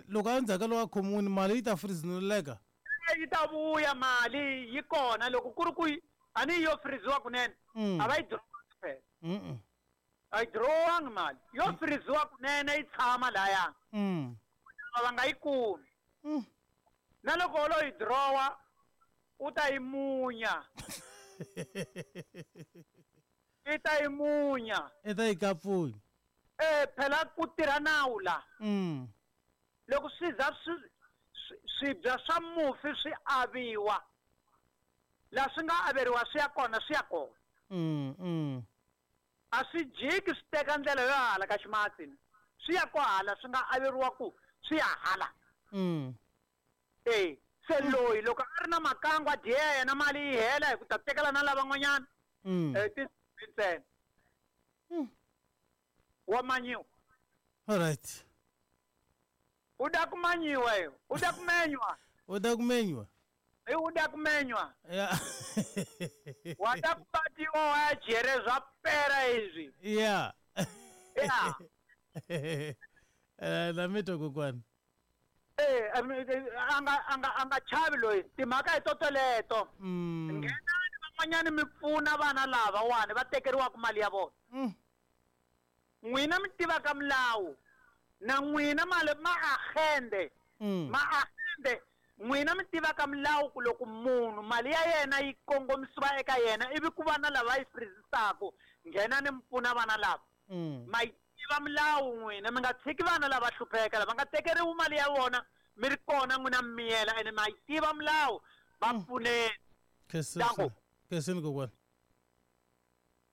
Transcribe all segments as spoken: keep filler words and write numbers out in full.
Loko endzhaku ka loko a khomiwile mali yi ta freezeleka. Yi ta vuya mali yi kona loko ku ri ku a ni yo freeziwa kunene a va yi dirowangi phela. A yi dirowangi mali yo freeziwa kunene yi tshama laya. Va nga yi kumi. Na loko lo yi dirowa u ta yi munya. I ta yi munya. I ta yi kapfunya. Eh phela ku tirha nawu la. Loko swi za swi swibya swa mufi swi aviwa la swi nga averiwa swi ya kona swi ya kona. Mm mm. A swi jiki swi teka ndlela yo hala ka ximatsi swi ya kwahala swi nga averiwa ku swi ya hala. Mm. Eh se loyi loko a ri na makangu a dya yena mali yi hela hi ku ta tekela na lavan'wanyana. Mm. Eh ti ntsena. Mm. Wa manyiwa. All right. U da kumanyiwa yo. U da kumenywa. U da kumenywa. E u da kumenywa. Yeah. Wa da kubatiwa wa jere zwa pera izwi. Yeah. Yeah. Eh na mito kokwani. Eh anga anga anga chavi loyi timhaka hi totoleto. Mm. Nghenani van'wanyani mi pfuna vana lava wani va tekeriwaka mali ya vona. Mm. N'wina mi tivaka milawu. Na n'wina mali ma agende. Mm. Ma agende n'wina mi tivaka milawu ku loko munhu mali ya yena yi kongomisiwa eka yena ivi ku vana lava yi freezisaka nghenani mi pfuna vana lava. Mm. Ma yi tiva milawu n'wina mi nga tshiki vana lava hlupheka lava nga tekeriwi mali ya vona mi ri kona n'wina mi miyela ene ma yi tiva milawu va pfuneni. Khe Khensani kokwani.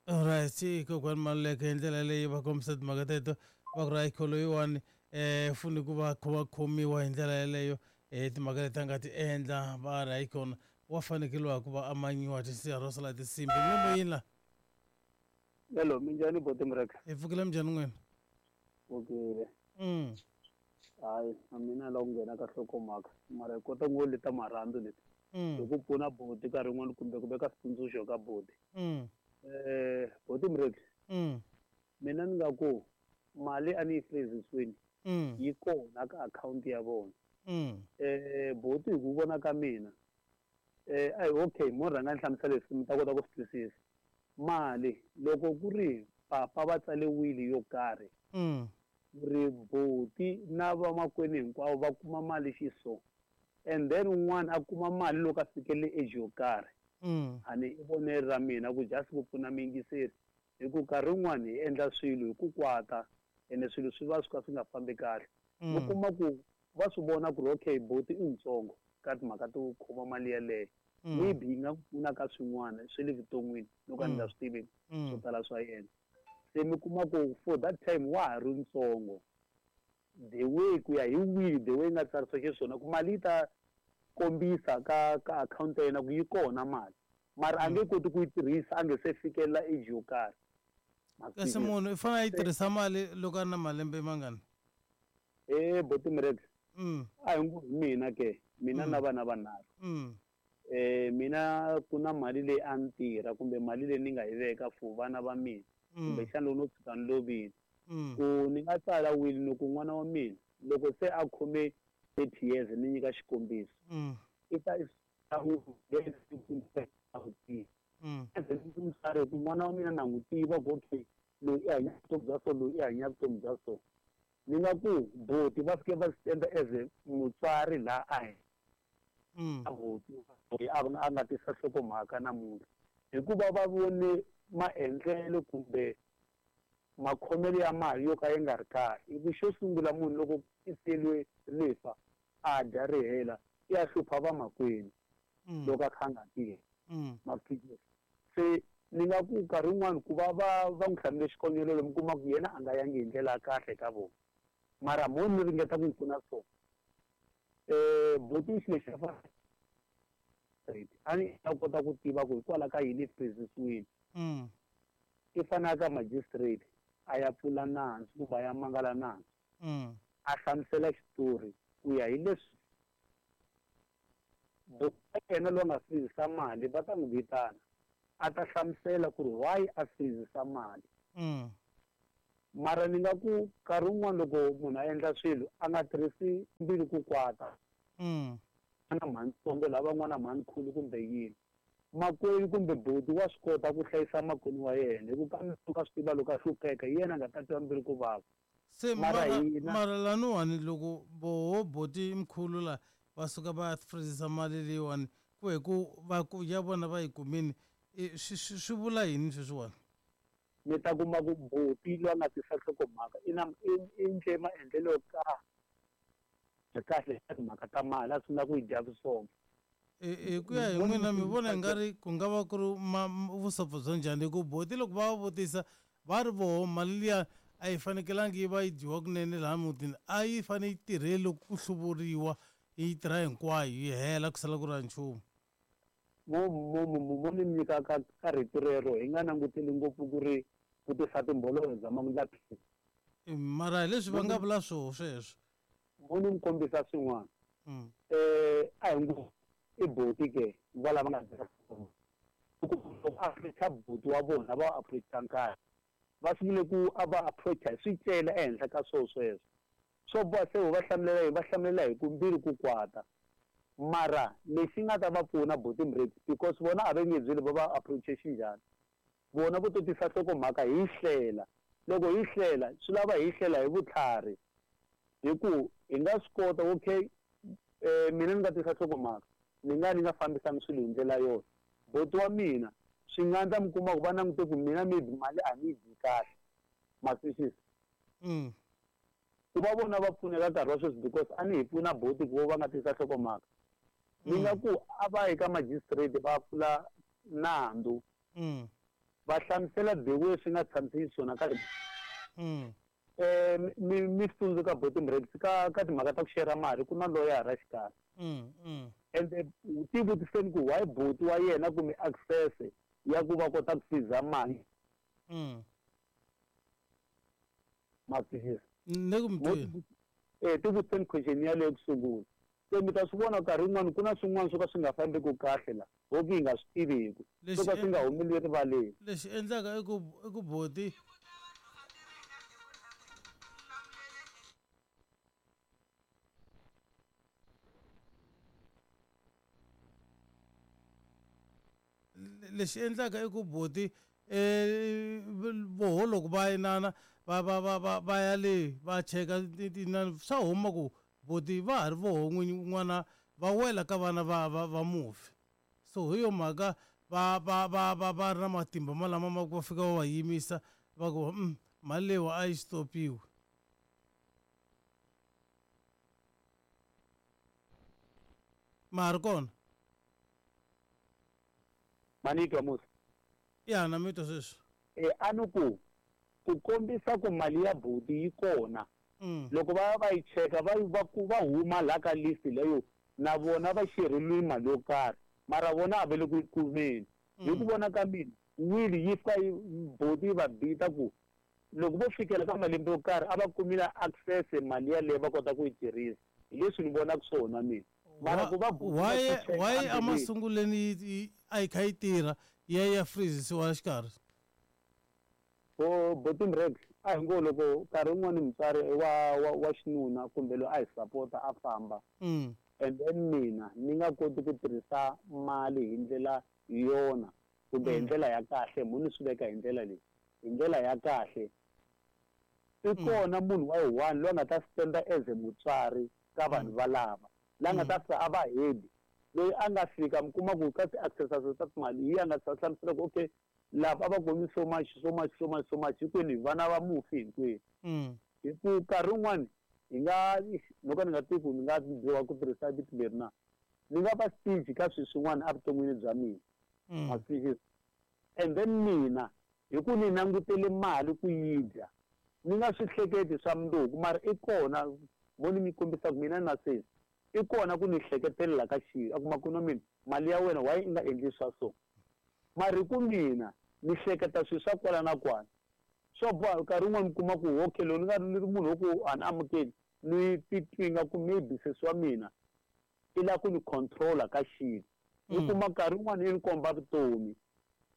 Alright, kokwani Maluleke hi ndlela leyi va kombisa timhaka teto va ku ri hayi loyiwani eh funi ku va va khomiwa hi ndlela yeleyo eh timhaka leti a nga ti endla va ri hayi kona wa fanekeliwa ku va a manyiwa tinsiha ro sala tinsimbi mi yini la. Hello, minjhani boti Mreka? Hi pfukile minjhani n'wina? Pfukile. Mm. Hayi, na mina la ku nghena ka nhlokomhaka mara hi kota ngo leta marhandzu leti. Mm. Hi ku pfuna boti nkarhi wun'wani kumbe ku veka switsundzuxo ka boti. Mm. Eh, boti Mreka. Mm. Mina ni nga ku mali a ni yi freezisiwini. Mm. Yi kona ka akhawunti ya vona. Mm. Eh, boti hi ku vona ka mina. Eh, ayi okay, mo rhanga ni hlamusela leswi mi ta kota ku swi twisisa. Mali loko ku ri papa va tsale wili yo karhi. Mm. Ri boti na vamakwenu hinkwavo va kuma mali xiso. And then un'wana a kuma mali loko a fikelele age yo karhi. Mm. A ni i vonelo ra mina ku just ku pfuna miyingiseri. Hi ku nkarhi wun'wani hi endla swilo hi ku kwata ene swilo swi va swi ka swi nga fambi kahle. Mm. Mi kuma ku va swi vona ku ri okay boti i ntsongo ka timhaka to khoma mali yeleyo. Mm. Maybe yi nga pfuna ka swin'wana swa le vuton'wini loko a ni nga swi tivi Mm. swo tala swa yena. Se mi kuma ku for that time wa ha ri ntsongo. The way ku ya hi will the way yi nga tsarisiwa xiswona ku mali yi ta kombisa ka ka akhawunti ya yena ku yi kona mali mara a nge koti ku yi tirhisa a nge se fikelela age yo karhi. Kasi munhu i fanele a yi tirhisa mali loko a ri na malembe mangani? Eh boti Mreka. Mm. A hi ngo hi mina ke mina Mm. na vana vanharhu. Mm. Eh mina ku na mali leyi a ni tirha kumbe mali leyi ni nga yi veka for vana va mina. Mm. Kumbexana loko no tshuka ni lovile. Mm. Ku ni nga tsala will ni ku n'wana wa mina loko se a khome thirty years ni nyika xikombiso. Mm. I ta Mm. mutswari ku n'wana wa mina na n'wi tiva ku okay loyi i hanya vutomi bya so loyi i hanya vutomi bya so. Ni nga ku boti va fike va stand as a mutswari laha a hi. Mm. A boti loyi a a nga tisa nhlokomhaka namuntlha hikuva va vone maendlelo kumbe makhomelo ya mali yo ka yi nga ri kahle. Hi ku xo sungula munhu loko i siyeriwe rifa a dya ri hela i ya hlupha vamakwenu Mm. loko a kha a nga tirhi. Mm. Ma swi twisisa? Se ni nga ku nkarhi wun'wani ku va va va n'wi hlamule xikongomelo mi kuma ku yena a nga yangi hi ndlela ya kahle ka vona. Mara mo ni ringeta ku n'wi pfuna so. Eh boti xilo lexi a a ni ta kota ku tiva ku hikwalaho ka yini freezisiwile. Mm. I fanele ka magistrate a ya pfula nandzu kumbe a ya mangala nandzu. Mm. A hlamusela xitori ku ya hi leswi boti yena loyi a nga freezisa mali va ta n'wi vitana a ta hlamusela ku ri why a freezisa mali. Mm. Mara ni nga ku nkarhi wun'wana loko munhu a endla swilo a nga tirhisi mbilu ku kwata. Mm. Na mhantsongo lava n'wana mhankhulu kumbe yini. Makwenu kumbe boti wa swi kota ku hlayisa makwenu wa yena hi ku kambe ka swi tiva loko a hlupheka hi yena a nga ta twa mbilu ku vava. Se Mara mara hina mara laniwani loko voho boti mkhulu la va suka va ya freezisa mali leyiwani ku hi ku va ku ya vona va yi kumini i swi swi swi vula yini sweswiwani? Mi ta kuma ku boti loyi a nga tisa nhlokomhaka i na i endle maendlelo yo karhi kahle ka timhaka ta mali a sungula ku yi dya vusopfa. Hi ku ya hi n'wina mi vona i nga ri ku nga va ku ri vusopfa bya njhani hi ku boti loko va va vutisa va ri voho mali liya a yi fanekelangi yi va yi dyiwa kunene laha mutini a yi fane yi tirhe loko ku hluvuriwa yi tirha hinkwayo yi hela ku sala ku ri na nchumu. Mo mo mo mo ni nyika ka ka rito rero hi nga languteli ngopfu ku ri ku tisa timbololo bya mamundlaphini. Mara hi leswi va nga vula swoho sweswo. Mo ni mi kombisa swin'wana. Eh a hi ngo i boti ke va lava nga dya loko approacha boti wa vona va approacha nkarhi va sungule ku a va approacha hi swicele ehenhla ka swona sweswo swo boha se va hlamulela hi va hlamulela hi ku mbilu ku kwata mara lexi nga ta va pfuna boti Mrex because vona a va nge byeli va va approache xinjhani vona vo to tisa nhlokomhaka hi hlela loko hi hlela swi lava hi hlela hi vutlhari hi ku hi nga swi kota okay eh mina ni nga tisa nhlokomhaka ni nga ni nga fambisani swilo hi ndlela yona boti wa mina swi nga ndla mi kuma ku va langute ku mina maybe mali a ni yi dyi kahle ma twisisa mm. ku va vona va pfuneka nkarhi wa sweswi because a ni hi pfuna boti ku va nga tisa nhlokomhaka ni nga ku a va yi ka magistrate va pfula nandzu mm. va hlamusela the way swi nga tshamiseki swona ka mm. eh mi mi tsundzuka boti Mrex ka ka timhaka ta ku share mali ku na loyara xikarhi mm mm and ti vutiseni ku why boti wa yena kumbe access ya ku va kota ku freeza mali mm ma twisisa ni ku mi twini eh ti vutiseni question yaleyo ku sungula se mi ta swi vona nkarhi wun'wani ku na swin'wana swo ka swi nga fambeki kahle la ho ku hi nga swi tiviku swo ka swi nga humeli erivaleni lexi endlaka i ku i ku boti lexi endlaka i ku boti eh voho loko va inana va va va va va ya le va cheka tinani swa huma ku boti va ha ri voho n'wana va wela ka vana va va va mufi so hi yo mhaka va va va va va ri na matimba malama ma ku va fika va va yimisa va ku mm, mali leyiwa a yi stopiwe ma ha ri kona manitwa musa ya na mi twa sweswi eh a ni ku ku kombisa ku mali ya boti yi kona mm. loko va va yi cheka va va ku va huma la ka list leyo na vona va xereliwe mali yo karhi mara vona a va le ku yi kumeni hi ku vona ka mina wili yi fika yi boti yi va bita ku loko vo fikela ka malembe yo karhi a va kumile access mali yaleyo va kota ku yi tirhisa hi leswi ni vonaka swona mina mara ku va why why emasunguleni a yi kha yi tirha ya ya freezisiwa xikarhi o boti Mrex a hi ngo loko nkarhi wun'wani mutswari wa wa wa xinuna kumbe loyi a hi sapota a famba mm. and then mina ni nga koti ku tirhisa mali hi ndlela yona kumbe hi ndlela ya kahle mo ni swi veka hi ndlela leyi hi ndlela ya kahle i kona munhu wa yi one loyi a nga ta stand as a mutswari ka vanhu valava la nga ta fika a va head loyi a nga fika mi kuma ku ka ti-access ta timali hi a nga ta hlamusela ku okay lava a va kumi so much so much so much so much hinkwenu hi vana va mufi hinkwenu mm. hi ku nkarhi wun'wani hi nga no ka ni nga tivi ku ni nga dyiwa ku tirhisa vito leri na ni nga va stingy ka swilo swin'wana evuton'wini bya mina ma twisisa and then mina hi ku ni langutele mali ku yi dya ni nga swi hleketi swa mundzuku mara i kona vo ni mi kombisa ku mina na sesi i kona ku ni hleketelela ka xilo a kuma ku na mina mali ya wena why i nga endli swa so mara hi ku mina ni hleketa swilo swa kwala na kwala swo boha nkarhi wun'wani mi kuma ku okay loko ni nga ni ri munhu wo ku a ni amukeli ni titwi nga ku maybe sesi wa mina i lava ku ni controller ka xilo ni kuma nkarhi wun'wani yi ni komba vutomi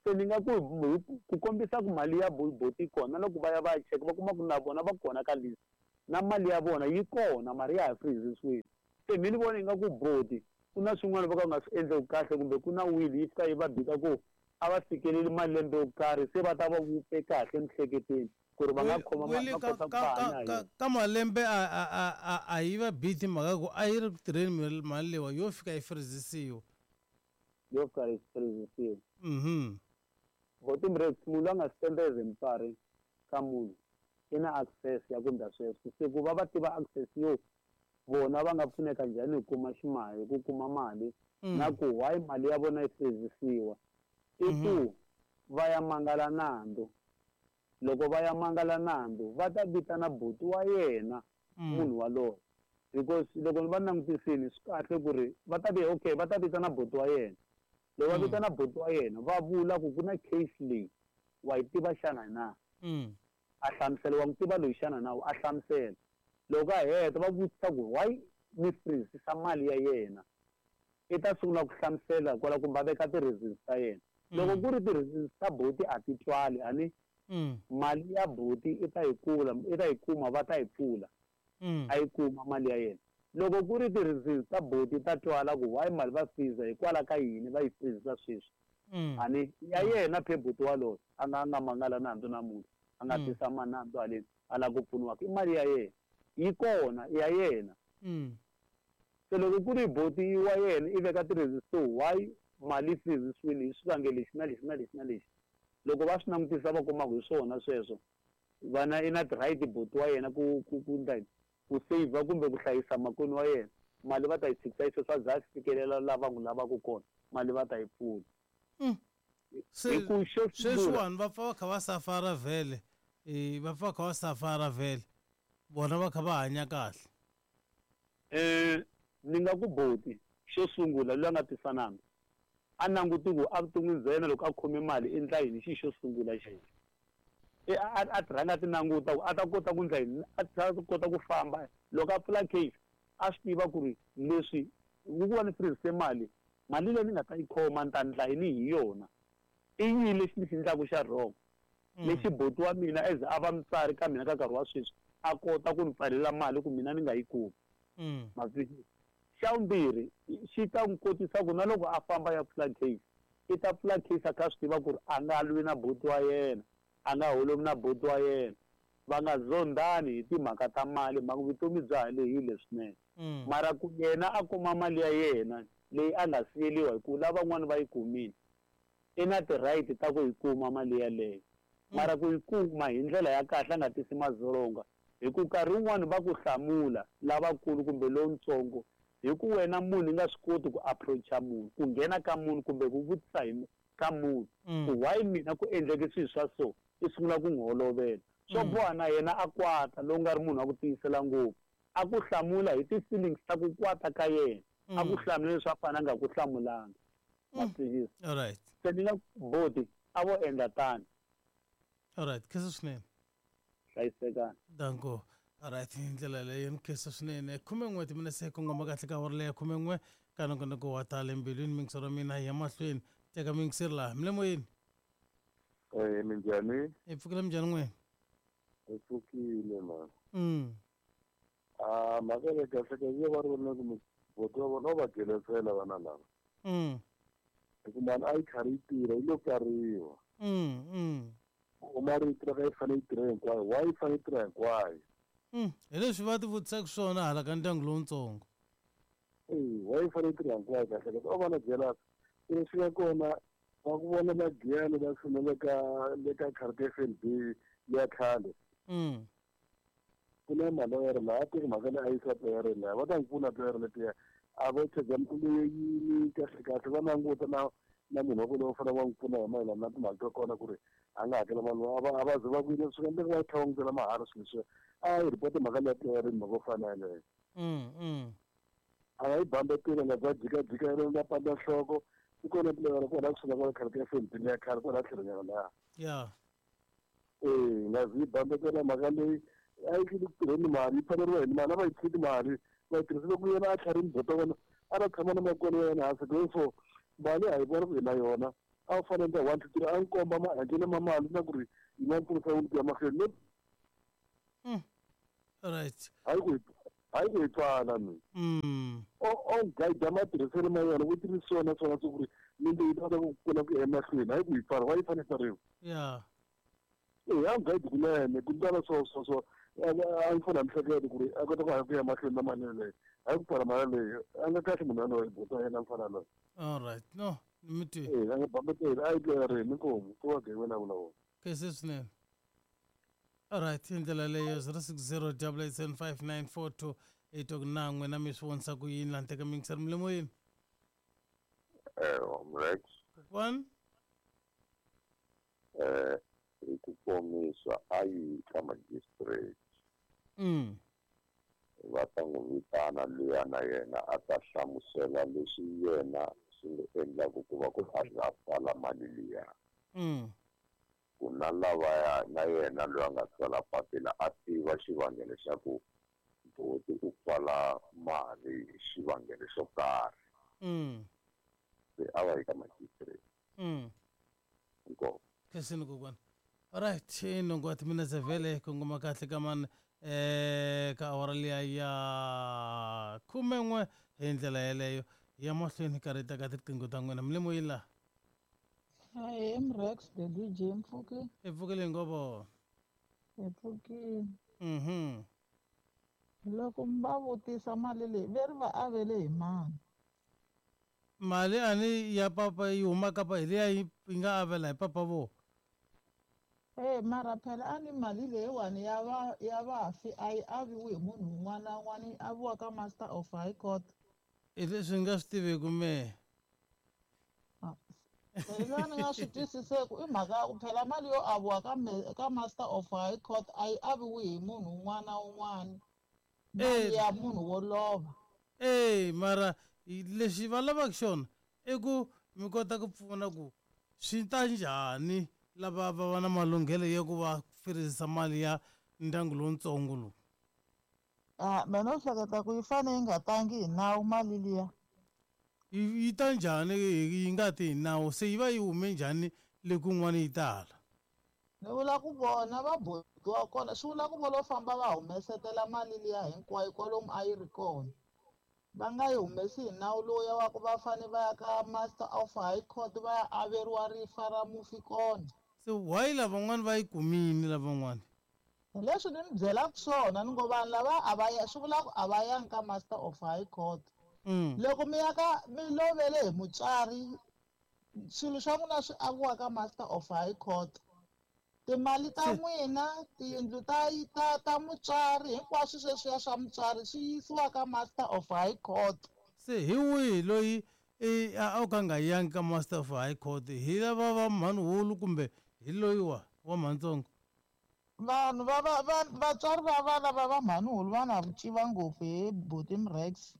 Se ni nga ku ku kombisa ku mali ya boti kona loko va ya va ya cheka va kuma ku na vona va kona ka list na mali ya vona yi kona mara ya ha freezisiwile. Se mi ni vona ingaku boti ku na swin'wana va ka nga swi endleki kahle kumbe ku na will yi fika yi va bika ku a va fikeleli malembe yo karhi se va ta va vupe kahle emiehleketweni ku ri va nga khoma mali va kota ku hanya ka ka malembe a a a a yi va biti mhaka ku a yi ri ku tirheni mali leyiwa yo fika yi freezisiwa yo fika yi freezisiwa. Mhm. Boti Mrex munhu a nga spende as mutswari ka munhu i na access ya ku endla sweswo se ku va va tiva access yo vona va nga pfuneka njhani hi kuma ximali ku kuma mali na ku why mali ya vona yi freezisiwa i ku va ya mangala nandzu. Loko va ya mangala nandzu va ta vitana buti wa yena munhu waloye because loko va langutisile swi kahle ku ri va ta vi okay va ta vitana buti wa yena. Loko va vitana buti wa yena va vula ku ku na case leyi wa yi tiva xana na a hlamusela wa n'wi tiva loyi xana na a hlamusela. Loko a heta va vutisa ku why mi freezisa mali ya yena i ta sungula ku hlamusela kwala kumbe a veka ti-reasons ta yena. Loko ku ri ti-reasons ta buti a ti twali a ni mali ya buti i ta yi kula i ta yi kuma va ta yi pfula a yi kuma mali ya yena. Loko ku ri ti-reasons ta buti ta twala ku why mali va freeza hikwalaho ka yini va yi freezisa sweswi a ni ya yena phe buti waloye a nga a nga mangala nandzu namuntlha a nga tisa manandzu haleni a lava ku pfuniwa i mali ya yena yi kona ya yena. Se loko ku ri buti wa yena i veka ti-reasons to why mali freezisiwile hi swivangelo lexi na lexi na lexi na lexi loko va swi langutisa va kuma ku hi swona sweswo vana i na ti-right buti wa yena ku ku ku ndla ku save kumbe ku hlayisa makwenu wa yena mali va ta yi tshikisa yi sweswo a za a fikelela lava n'wi lavaka kona mali va ta yi pfula. Se sweswiwani va pfa va kha va safara vhele va pfa va kha va safara vhele vona va kha va hanya kahle. Um ni nga ku boti xo sungula loyi a nga tisa nandzu a languti ku evuton'wini bya yena loko a khome mali i ndla yini xi xo sungula xa yena a a ti rhanga a ti languta ku a ta kota ku ndla yini a ta kota ku famba loko a pfula case a swi tiva ku ri leswi ku va ni freezise mali mali leyi ni nga ta yi khoma ni ta ndla yini hi yona i yini lexi ni xi endlaka xa wrong lexi buti wa mina as a va mutswari ka mina ka nkarhi wa sweswi a kota ku ni pfalela mali ku mina ni nga yi kumi. Ma twisisa? Xa vumbirhi xi ta n'wi kotisa ku na loko a famba ya pfula case i ta pfula case a kha a swi tiva ku ri a nga lwi na buti wa yena a nga holovi na buti wa yena va nga zondani hi timhaka ta mali mhaka vutomi bya ha lehile swinene mara ku yena a kuma mali ya yena leyi a nga siyeliwa hi ku lavan'wana va yi kumile i na ti-right ta ku yi kuma mali yaleyo mara ku yi kuma hi ndlela ya kahle a nga tisi madzolonga hi ku nkarhi wun'wani va ku hlamula lavakulu kumbe lowutsongo hi ku wena munhu i nga swi koti ku approacha munhu ku nghena ka munhu kumbe ku vutisa hi ka munhu ku why mina ku endleke swilo swa so i sungula ku n'wi holovela swo boha na yena a kwata lowu nga ri munhu wa ku tiyisela ngopfu a ku hlamula hi ti-feelings ta ku kwata ka yena a ku hlamula leswi a fanele a nga ku hlamulanga. Ma twisisa? Alright. Se ni nga boti a vo endla tano. Alright, khensa swinene. Hlayisekani. Danko. Alright, hi ndlela leyo ni khensa swinene. Khumen'we timinetse kongoma kahle ka awara leya khumen'we ka nongonoko wa tale mbilwini mingisero mina hi ya mahlweni teka mingiseri laha mi le moyeni. Eh minjhani? Hi pfukile minjhani n'wina? Hi pfukile mani. Mm. Ah mhaka leyi kahle kahle yo va ri vona ku buti wa vona va gelesela vana lava. Mm. Hi ku mali a yi karhi yi tirha yi lo pfariwa. Mm mm. U mali yi tirha yi fanele yi tirha hinkwayo why yi fanele yi tirha hinkwayo? Mm. Hi leswi va ti vutisaka swona hala ka ndyangu lowutsongo. Eh why yi fanele yi tirha hinkwayo kahle kahle o va na jealous leswi nga kona va ku vona magiyani va tshame ka le ka khadi F N B leya khale. Mm. Ku na maloyere laha a teki mhaka leyi a yisa player laha va ta n'wi pfuna player letiya a vo chaja mali yini kahle kahle va languta na na munhu wa ku lowu fanele va n'wi pfuna hi mayelana na timali ta kona ku ri a nga hakela mali a va a va ze va ku yini swi nga endleka va tlhela va n'wi byela mahala swilo leswiya a yi report mhaka leya player mhaka yo fana yeleyo. Mm mm. A nga yi bambetela nga bya jikajika yena nga pandza nhloko i kona player kwala kusuhi na kwala khale ka F N B leya khale kwala tlhelonyana laha. Yeah. Eh nga zi yi bambetela mhaka leyi a yi tlili ku tirheni mali yi pfaleriwa hi mali a va yi tshiki mali va yi tirhisile ku yena a tlharini buti wa vona a ta tshama na makwenu wa yena hansi therefore mali a hi vona ku hi na yona A wu fanele one two three a n'wi komba maendlelo ma mali na ku ri yi nga pfunisa yini ku ya mahlweni no right hayi ku hayi ku hi pfala mi mm o o guide matirhiselo ma yona ku tirhisiwa na swona swa ku ri minte yi ta kota ku kula ku ya emahlweni hayi ku hi pfala wa yi fanele pfariwa yeah e a guide kunene ku ndlela swo swo swo a yi pfuna mihleketo ku ri a kota ku hanya ku ya mahlweni na mali yeleyo hayi ku pfala mali leyi a nga kahle munhu yaloye buta yena mfana loyi all right no ni mi twi e a nga bambeteli a yi tlerini inkomu ku va gevela vulavula kese swinene alright hi ndlela leyo zero six zero double eight seven five nine four two eight ku na n'wina mi swi vonisa ku yini laha teka mingiseri milemoyeni eh Rex kokwani eh hi ku komisa a yi ka magistrate mm va ta n'wi vitana luya na yena a ta hlamusela leswi yena swi n'wi endlaku ku va ku a za a pfala mali liya mm ku na lavaya na yena loyi a nga tsala papila a tiva xivangelo xa ku buti u pfala mali hi xivangelo xo karhi mm se a va yi ka magistrate mm inkomu khensini kokwani alright i nhungu wa timinetse vhele kongoma kahle ka mani eh ka awara liya ya khumen'we hi ndlela yeleyo ya mahlweni karhi ta ka tiqingho ta n'wina milemoyini laha Hi, I'm Rex, the D J Mpfuki. i pfukile ngovo Hi pfukile. mhm Loko mi va vutisa mali leyi ve ri va avele hi mani? mali ani ya papa yi huma kapa hi liya yi yi nga avela hi papa vo Eh mara phela a ni mali leyiwani ya va ya vafi a yi aviwi hi munhu un'wana na un'wana yi aviwa ka Master of High Court. hi leswi ni nga swi tiviku mehe Ah, Leyi ni nga swi twisiseku i mhaka ya ku phela mali yo aviwa ka me- ka Master of High Court a yi aviwi hi munhu un'wana na un'wana. Mali Eh. ya munhu wo lova. e mara hi- lexi va lavaka xona i ku mi kota ku pfuna ku swi ta njhani lava va va na malunghelo ya ku va firizisa mali ya ndyangu lowutsongo lowu Ah, mina no hleketa ku yi fane yi nga tangi hi nawu mali liya. yi yi ta njhani yi yi nga ti hi nawu se yi va yi hume njhani le kun'wana yi tala Ni vula ku vona va bohiwa kona swi vula ku vo lo famba va humesetela mali liya hinkwayo kwalomu a yi ri kona. Va nga yi humesi hi nawu lowuya wa ku va fane va ya ka Master of High Court va ya averiwa rifa ra mufi kona. se why lavan'wana va yi kumini lavan'wana Hi leswi ni mi byelaka swona ni ngo vanhu lava a va ya swi vula ku a va yangi ka Master of High Court. mm. Loko mi ya ka mi lovele hi mutswari swilo swa n'wina swi aviwa ka Master of High Court. Timali ta Se- n'wina tiyindlu ta ta ta mutswari hinkwaswo sweswiya swa mutswari swi yisiwa ka Master of High Court. se hi wihi loyi i a a ka nga yangi ka Master of High Court hi lava va mhanihulu kumbe hi loyi wa wa mhantsongo Vanhu va va va vatswari va vana va va mhanihulu va na vuciva ngopfu hi buti Mrex.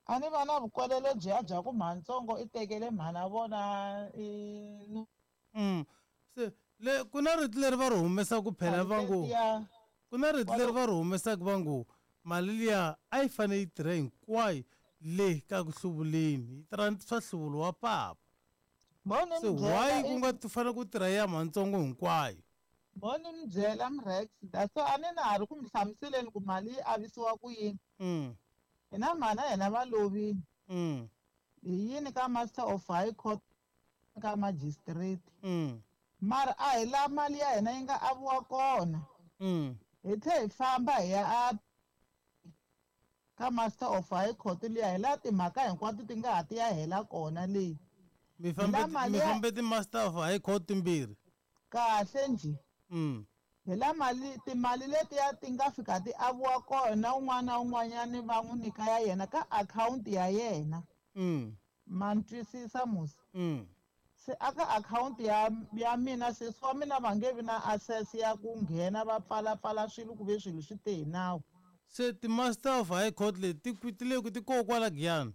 A ni va na vukwelele byiya bya ku mhantsongo i tekele mhana vona i mm. se le ku na rito leri va ri humesaku phela va ngo letiya ku na rito leri va ri humesaku va ngo mali liya a yi fanele yi tirha hinkwayo le ka ku hluvuleni yi tirha swa hluvulo wa papa mo ni se mi byela why ku i- nga ti fanele ku tirha ya mhantsongo hinkwayo mo ni mi byela Mrex that's why a ni na ha ri ku mi hlamuseleni ku mali yi avisiwa ku yini. mm. Hina mhana hina va lovile. mm. Hi yini ka Master of High Court ka magistrate. mm. Mara a hi la mali ya hina yi nga aviwa kona. mm. Hi tlhe hi famba hi ya a ka Master of High Court liya hi laha timhaka hinkwato ti nga ha ti ya hela kona leyi. mi fambe la mali mi ya- fambe ti-Master of High Court timbirhi Kahle njhe. mm. Hi la mali timali letiya ti nga fika ti aviwa kona un'wana na un'wanyani va n'wi nyika ya yena ka akhawunti ya yena. mm. Ma ni twisisa musi? mm. Se aka akhawunti ya ya mina sesi wa mina va nge vi na access ya ku nghena va pfalapfala swilo ku ve swilo swi te hi nawu. Se ti-Master of High Court leti ti ti le ku ti koho kwala Giyani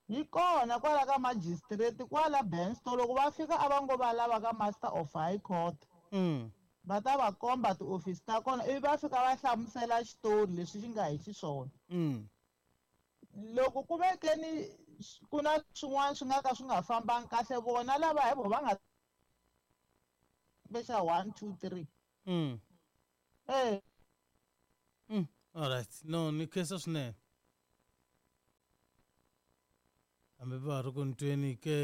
Yi kona kwala ka magistrate kwala Bensto loko va fika a va ngo va lava ka Master of High Court. mm. Va ta va komba tiofisi ta kona ivi va fika va hlamusela xitori leswi xi nga hi xiswona. mm. Loko ku ve ke ni ku na swin'wana swi nga ka swi nga fambangi kahle vona lava hi vo va nga bexa one two three mm. eh mm. All right, no ni khensa swinene hambi va ha ri ku ni tweni ke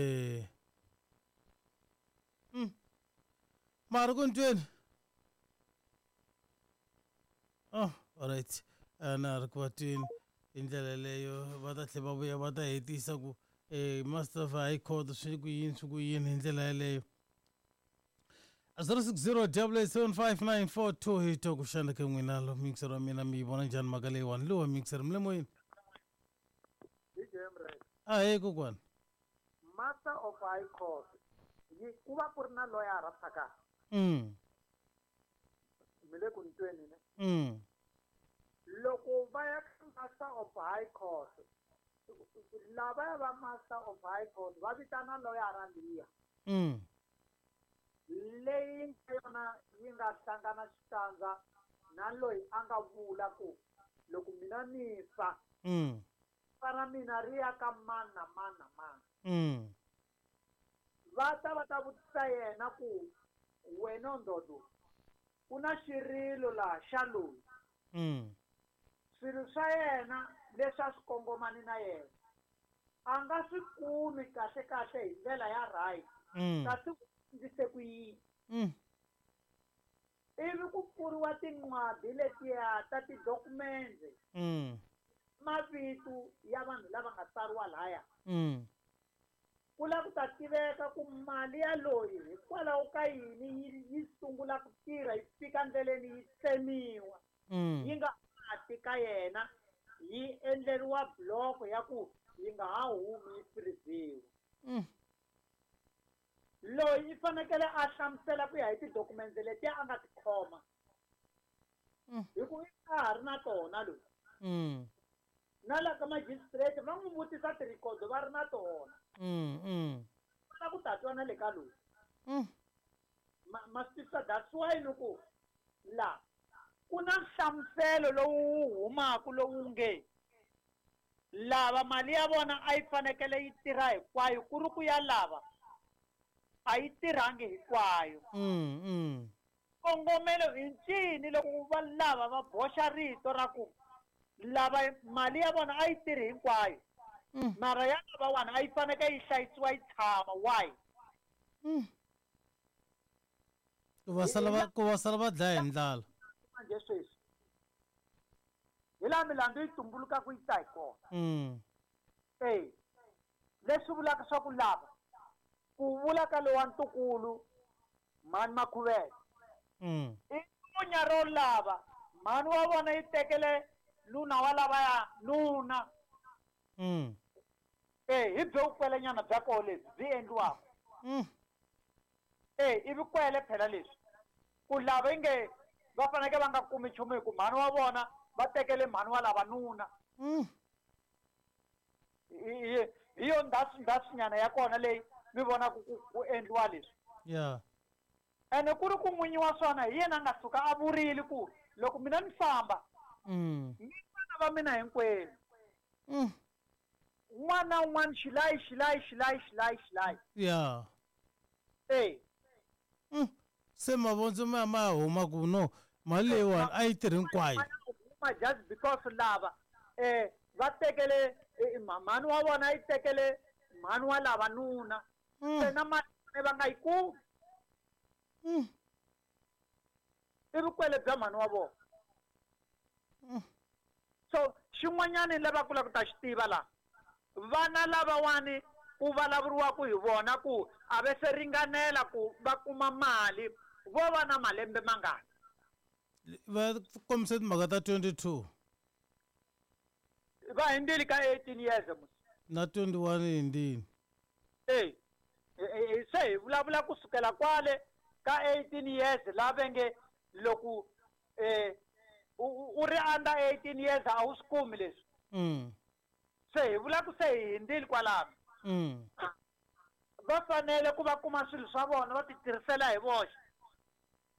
mm. ma ha ri ku ni tweni oh all right na ha ri ku va tweni hi ndlela yeleyo va ta tlhela va vuya va ta hetisa ku um master of high court swi ku yini swi ku yini hi ndlela yeleyo zero six zero double eight seven five nine four two hi twa ku xana ka n'wina lo mixer wa mina mi yi vona njhani mhaka leyiwani lowa mixer mi le moyeni ahee kokwana Master of High Court yi ku va ku ri na loyara phakati mm. mi le ku ni tweni ne mm. loko va ya ka Master of High Court lavaya va Master of High Court va vitana loyara liya mm. leyi nga yona yi nga hlangana xikandza na loyi a nga vula ku loko mina ni fa mm. fa ra mina ri ya ka mani na mani na mani mm. va ta va ta vutisa yena ku wena ndodo ku na xirilo laha xa loyi mm. swilo swa yena leswi a swi kongomani na yena a nga swi kumi kahle kahle hi ndlela ya right mm. kasi u endlise ku yini mm. ivi ku pfuriwa tinqwadi letiya ta tidokumende mm. mavito ya vanhu lava nga tsariwa laya mm. ku lava ku ta tiveka ku mali ya loyi hikwalaho ka yini yi yi sungula ku tirha yi fika ndleleni yi tsemiwa mm. yi nga ha ti ka yena yi endleriwa block ya ku yi nga ha humi yi freeziwa mm. loyi i fanekele a hlamusela ku ya hi tidokumende letiya a nga ti khoma Mm. hi ku i a ha ri na tona loyi mm. na la ka magistrate va n'wi vutisa tirhikodo va ri na tona mm. mm. va lava ku ta twa na le ka loyi mm. ma ma swi twisisa that's why ni ku la ku na nhlamuselo lowu wu humaka lowu nge lava mali ya vona a yi fanekele yi tirha hinkwayo ku ri ku ya lava a yi tirhangi hinkwayo mm. mm. kongomelo i ncini loko va lava va boxa rito ra ku lava mali ya vona a yi tirhi hinkwayo Mm. mara ya lavawani a yi fanekele yi hlayisiwa yi tshama why Mm. ku va sala va ku va sala va dlaya hi ndlala manje sweswi hi laha milandzu yi tumbulukaka yi ta hi kona mm. e leswi vulaka swa ku lava ku vula ka lowa ntukulu mhani Makhuvele mm. i lunya ro lava mhani wa vona yi tekele nuna wa lavaya nuna mm. e hi byo vukwelenyana bya koho lebyi byi endliwaka mm. e i vukwele phela leswi ku lava inge va fanekele va nga kumi nchumu hi ku mhani wa vona va tekele mhani wa lava nuna mm. hi hi yo ndhasu ndhasunyana ya kona leyi mi vonaka ku ku endliwa leswi yeah ene ku ri ku n'winyi wa swona hi yena a nga suka a vurile ku loko mina ni famba mm. ni vana va mina hinkwenu mm. un'wana na un'wana xilayi xilayi xilayi xilayi xilayi yeah e mm. se mavondzo ma ma huma ku no mali leyiwani a yi tirhi hinkwayo huma just because lava eh va tekele eh, mhani wa vona yi tekele mhani wa lava nuna mm. se na mali va nga yi kumi mm. i vukwele bya mhani wa vona Mm. so xin'wanyana lava ku lava ku ta xi tiva laha vana lavawani ku vulavuriwaka hi vona ku a va se ringanela ku va kuma mali vo va na malembe mangani va kombise timhaka ta twenty two va hundzile ka eighteen years musi na twenty one yi hundzile e se hi vulavula kusukela kwale ka eighteen years la va nge loko um u ri under eighteen years a wu swi kumi leswi mm. se hi vula ku se hi hundzile kwalano mm. va fanele ku va kuma swilo swa vona va ti tirhisela hi voxe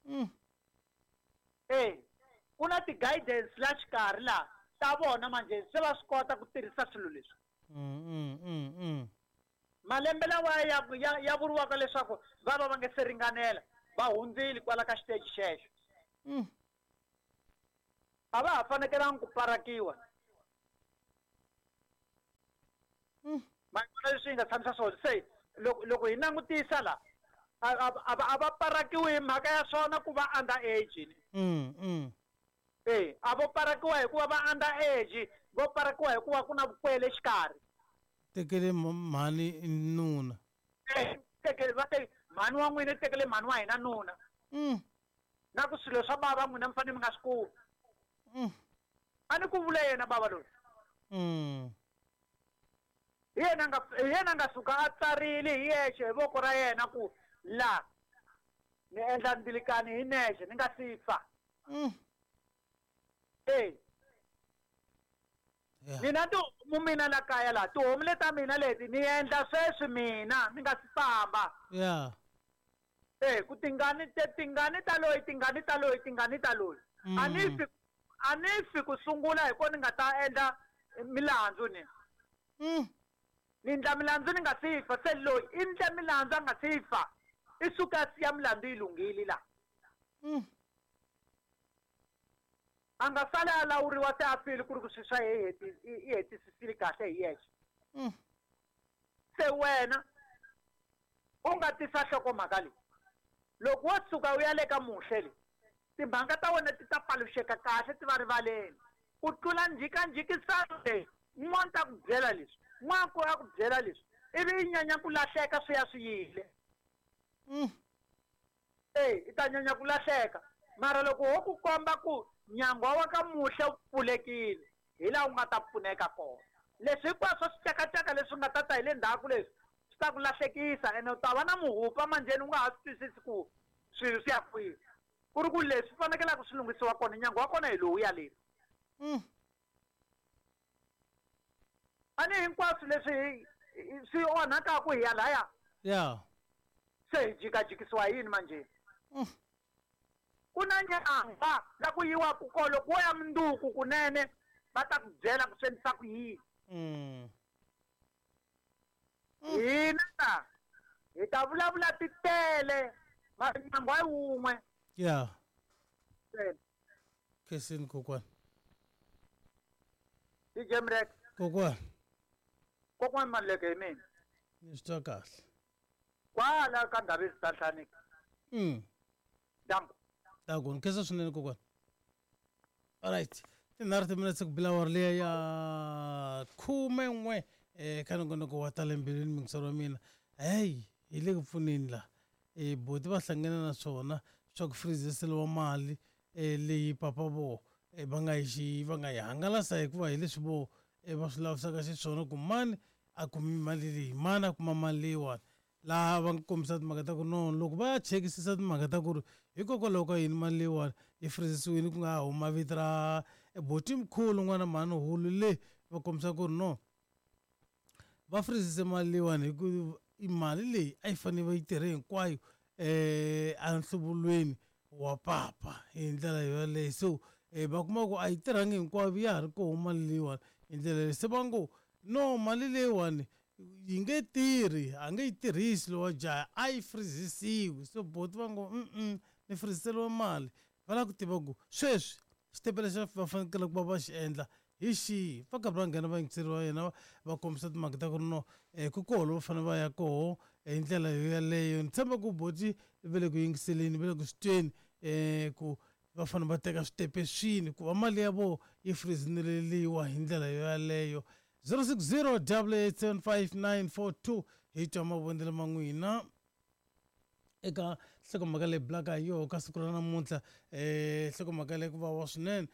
mm. e ku na ti-guidance la xikarhi laha ta vona manjhe se va swi kota ku tirhisa swilo leswi Mm, mm, mm. Malembe lawa ya ya, ya vuriwaka leswaku va va va nge se ringanela va hundzile kwala ka xiteji xexo. Mm. A va ha fanekelanga ku parakiwa. Mm. Ma vona leswi hi nga tshamisa swona se loko loko hi langutisa la a a a va parakiwi hi mhaka ya swona ku va under age. Mm, mm. Eh, a vo parakiwa hikuva va under age, vo parakiwa hikuva ku na vukwele exikarhi. Tekele mhani nuna. Eh, tekele va te mhani wa n'wina tekele mhani wa hina nuna. Mm. Na ku swilo swa bava n'wina mi fanele mi nga swi kumi. Mm. A ni ku vula yena bava loyi. Mm. Hi yena nga hi yena nga suka a tsarile hi yexe hi voko ra yena ku la ni endla mbilikani hi nexe ni nga si fa. Mm. Eh. Yeah. Mina tihomu mina la kaya la tihomu leta mina leti ni endla sweswi mina ni nga si famba. Yeah. Eh, ku tingani te tingani ta loyi tingani ta loyi tingani ta loyi. Mm. A ni fi a ni fi ku sungula hi ko ni nga ta endla milandzu ni. Mm. Ni endla milandzu ni nga si fa se loyi i endla milandzu a nga si fa. I suka a siya milandzu yi lunghile la. Mm. A nga sali a lawuriwa se a file ku ri ku swi swa ye i hetisisile kahle hi yexe. Mm. Se wena u nga tisa nhlokomhaka leyi. Loko wo suka u ya le ka muhle le timhaka ta wena ti ta paluxeka kahle ti va rivaleni. Ku tlula njhikanjhikisano leyi un'wana ta ku byela leswi n'wana ku a ku byela leswi ivi i nyanya ku lahleka swi ya swi yile. Mm. Eh, i ta nyanya ku lahleka mara loko ho ku komba ku nyangwa wa ka muhle wu pfulekile hi laha u nga ta pfuneka kona. Leswi hinkwaswo swicakacaka leswi nga ta ta hi le ndzhaku leswi swi ta ku lahlekisa ene u ta va na muhupa manjheni u nga ha swi twisisi ku swilo swi ya kwihi. Ku ri ku leswi fanekelaka swi lunghisiwa kona nyangwa wa kona hi lowu ya le. Mm. A ni hinkwaswo leswi swi onhakaku hi ya laya. Yeah. Se hi jikajikisiwa hi yini manjheni? Mm. Ku na nyangwa la ku yiwaku kona loko wo ya munduku kunene va ta ku byela ku swi endlisa ku yini. Mm. Hina hi ta vulavula titele mara nyangwa hi wun'we. Yeah. Khensini kokwana. D J Mrek. Kokwana. Kokwana Maluleke hi mina. Ni swi twa kahle. Kwala ka Ndhavezitha Nhlaniki. Mm. Danko. Danko, ni khensa swinene kokwana. Alright. Tinharhu timinetse ku bila awara liya ya khume n'we eh ka nongonoko wa ta le mbilwini muyingiseri wa mina. Hey, hi le ku pfuneni la. Eh boti va hlangana na swona swa ku freeziseliwa mali eh leyi papa vo eh va nga yi va nga yi hangalasa hikuva hi leswi vo eh va swi lavisaka xiswona ku mani a kumi mali leyi mani a kuma mali leyiwani. Laha va kombisa timhaka ta ku no loko va ya chekisisa timhaka ta ku ri hikokwalaho ka yini mali leyiwani yi freezisiwile ku nga ha huma vito ra boti mkhulu n'wana mhani hulu le va kombisa ku ri no va freezise mali leyiwani hi ku i mali leyi a yi fanele va yi tirhe hinkwayo eh enhluvulweni wa papa hi ndlela yoleyo. So eh va kuma ku a yi tirhangi hinkwayo ya ha ri koho mali leyiwani hi ndlela leyi se va ngo no mali leyiwani yi nge tirhi a nge yi tirhisi lowa jaha a yi freezisiwi. So boti va ngo mm ni freeziseliwe mali va lava ku tiva ku sweswi xitepe lexi va fanekele ku va va xi endla hi xihi. Va karhi va nghena va yingiseriwa yena va kombisa timhaka ta ku ri no eh ku koho lowu fanele va ya koho hi ndlela yo yaleyo. Ni tshemba ku boti va le ku yingiseleni va le ku swi tweni eh ku va fanele va teka switepe swini ku va mali ya vona yi freezineleliwa hi ndlela yo yaleyo. zero six zero double eight seven five nine four two hi twa mavonelo ma n'wina eka nhlokomhaka leyi bulaka hi yoho ka siku ra namuntlha. Eh nhlokomhaka leyi ku vava swinene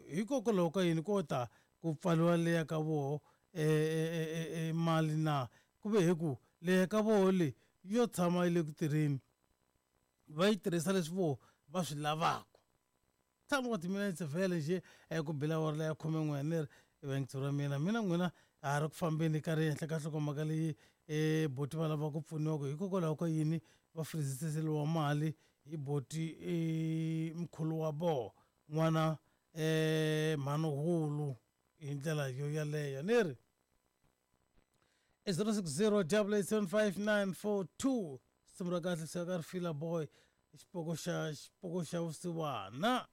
hikokwalaho ka yini ko ta ku pfaliwa leya ka voho eh mali na ku ve hi ku leya ka voho leyi yo tshama yi le ku tirheni va yi tirhisa leswi voho va swi lavaka. Tshama wa timinetse vhele njhe ku bila awara leya khume n'we ni ri vayingiseri wa mina mina n'wina ha ri ku fambeni ka ri henhla ka nhlokomhaka leyi eh boti va lava ku pfuniwa ku hikokwalaho ka yini va freeziseliwa mali hi boti eh mkhulu wa voho n'wana eh mhani hulu hi ndlela yo yaleyo ni ri. I zero six zero double eight seven five nine four two. Simu ra kahle swi ka ri fila boy, xipoko xa xipoko xa vusiwana.